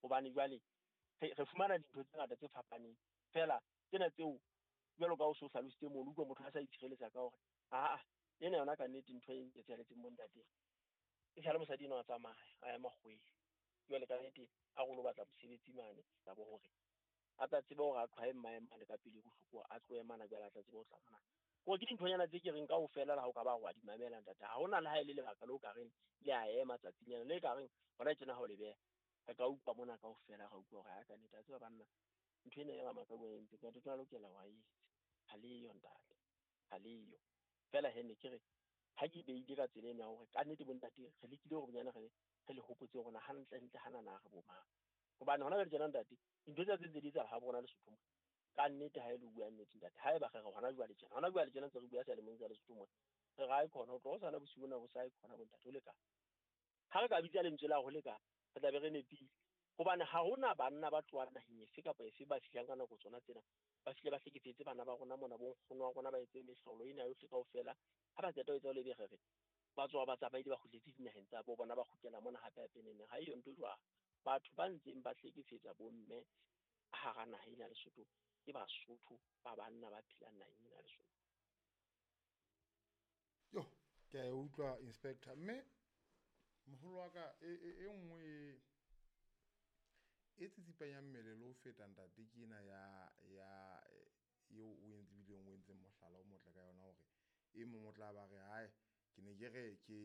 Hobane jwale re fumana dintho tse ngata tse fapaneng. Feela tsena tseo jwalo ka o so hlalositse mono, utlwa motho a sa itshireletsa ka hore aa ena yona ka nnete ntho e nketsahaletseng bo ntate. E sale mosadi enwa a tsamaya a ya makgoweng. Jwale ka nnete a re o lo batla mosebetsi mane bo hore a tla tsebe hore a qhwae mmae mane ka pele bohloko, a tlohe mana jwale a tla tsebe ho tla mona. Ko ke dinthonyana tse ke reng kaofela le ha o ka ba wa di mamela ntate, ha hona le ha e le lebaka leo ka reng le a ema tsatsing lena le ka reng hona tjena ha o le beha. Re ka utlwa mona kaofela, ra utlwa hore ha ka nnete a tseba banna ntho ena ya Ramakau a entse ntate tla lokela wa etse. Ha leyo ntate, ha leyo. Feela he ne ke re ha ke beile ka tsela ena ya hore ka nnete bo ntate re lekile hore bonyane re le hopotse hore na hantle ntle hanana re bo mang. Hobane hona jwale tjena ntate dintho tsa tse ntse di etsahala ha bona Lesotho mona. Ka nnete ha e le bua nnete ntate, haeba re re hona jwale tjena, hona jwale tjena ntse re bua seyalemoyeng sa Lesotho mona, re re ae khona ho tloha hosane bosiu bona bo sa ae khona bo ntate ho lekane. Ha re ka bitsa lentswe la ho lekane, re tla be re nepile. Hobane ha hona banna ba tlohang naheng efe kapa efe ba fihlang ka nako tsona tsena, ba fihle ba hlekefetse bana ba rona mona, bo nkgono wa rona ba etse mehlolo ena yohle kaofela. Ha ba qeta ho etsa jwalo, ebe re re ba tswa ba tsamaile ba kgutletse dinaheng tsa bo bona, ba kgutlela mona hape hape neneng. Ha eyo ntho e jwalo. Batho ba ntseng ba hlekefetsa bomme hara naha ena ya Lesotho ke Basotho ba banna ba phelang naheng ena ya Lesotho. Yo, ke a e utlwa inspector, mme moholo wa ka e nngwe e tsitsipanyang mmele le ho feta ntate ke ena ya eo o entse bileng o entseng mohlala o motle ka yona hore e mong o tla ba re hae ke ne ke re ke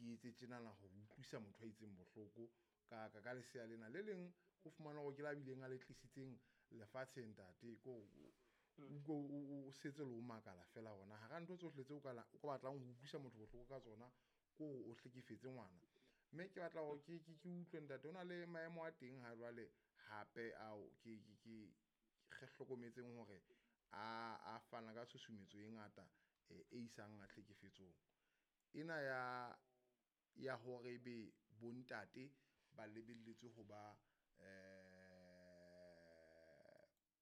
etse tjenana ho utlwisa motho a itseng bohloko ka lesea lena le leng o fumana hore ke la bileng a le tlisitseng lefatsheng ntate ko o setse le o makala fela hona hara ntho tsohle tseo ka batlang ho utlwisa motho bohloko ka tsona ko o hlekefetse ngwana. Mme ke batla hore ke utlwe ntate o na le maemo a teng ha jwale hape ao ke re hlokometseng hore a fana ka tshusumetso e ngata e isang a hlekefetsong ena ya hore be bontate ba lebelletswe ho ba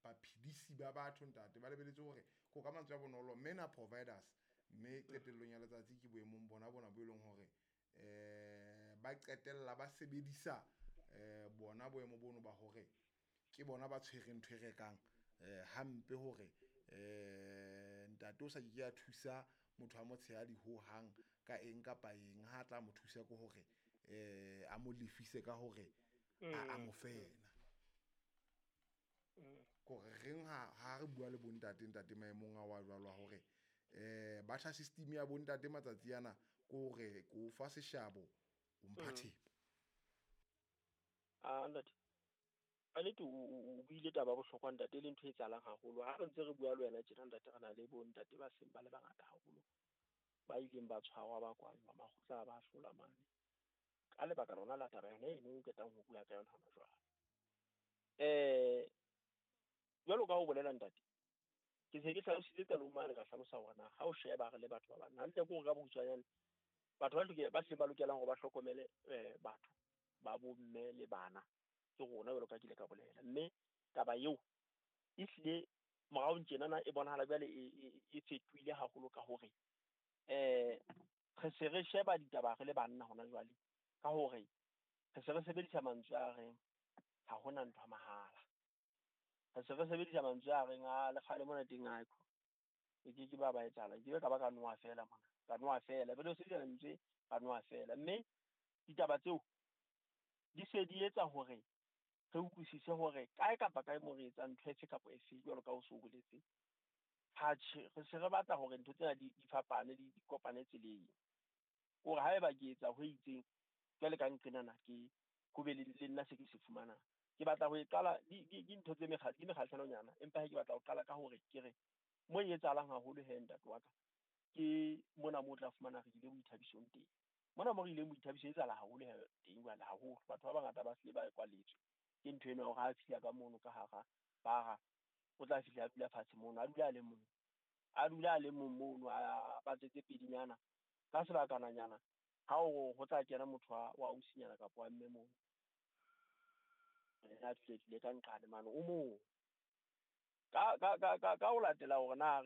baphedisi ba batho ntate, ba lebelletswe hore ko ka mantswe a bonolo men are providers, mme qetellong ya letsatsi ke boemong bona bona bo e leng hore ba qetella ba sebedisa bona boemo bono ba hore ke bona ba tshwereng ntho e rekang hampe hore ntate o sa ke a thusa motho a motshehadi ho hang ka eng kapa eng, ha tla mo thusa ke hore a mo lefise ka hore a mo fena. Kore reng ha re bua le bontate ntate maemong a wa jwalo hore batjha system ya bontate matsatsi ana ke hore ko fa seshabo o mpha thepa. A ntate, ka nnete o buile taba ya bohlokwa ntate, le ntho e etsahalang haholo. Ha re ntse re bua le wena tjena ntate, re na le bo ntate ba seng ba le bangata haholo ba ileng ba tshwarwa, ba kwallwa, makgotla a ba hlola mane ka lebaka lona la taba yona eno o qetang ho bua ka yona hona jwale. Jwalo ka ho bolela ntate, ke se ke hlalositse qalong mane, ka hlalosa hore na ha o sheba re le batho ba banna hantle, ke hore ka bokgutshwanyane batho ba hlileng ba lokelang hore ba hlokomele batho ba bomme le bana ke rona, jwalo ka ke ile ka bolela. Mme taba eo e hlile moraong tjenana e bonahala jwale e fetohile haholo ka hore re se re sheba ditaba re le banna hona jwale, ka hore re se re sebedisa mantswe a reng ha hona ntho ya mahala. Re se re sebedisa mantswe a reng a le kgale mona teng a e ke ke ba etsahala, ke ka ba ka noha fela mona, ka noha fela, be le sebedisa lentswe ka noha fela. Mme ditaba tseo di se di etsa hore re utlwisise hore kae kapa kae mo re etsang ntho efe kapa efe, jwalo ka o so boletse, ha tjhe re se re batla hore ntho tsena di fapane, di kopane tseleng. Hore haeba ke etsa ho itseng jwale ka nqenana, ke ho be le nna se ke se fumanang. Ke batla ho e qala di ntho tse mekgatlo, ke mekgahlelonyana, empa he ke batla ho qala ka hore ke re mo e etsahalang haholo he ntate wa ka, ke mona mo o tla fumana re ile boithabisong teng. Mona mo re ileng boithabiso e etsahala haholo he teng jwale haholo. Batho ba bangata ba hlile ba kwaletswe ke ntho ena hore ha fihla ka mono ka hara bara, o tla fihla a dula fatshe mono, a dula a le mong, a dula a le mong mono, a ba tsetse pedinyana ka sebakananyana. Ha o ho tla kena motho wa ausinyana kapa wa mme mono, yena a dule ka nqane mane o mong. Ka ho latela hore na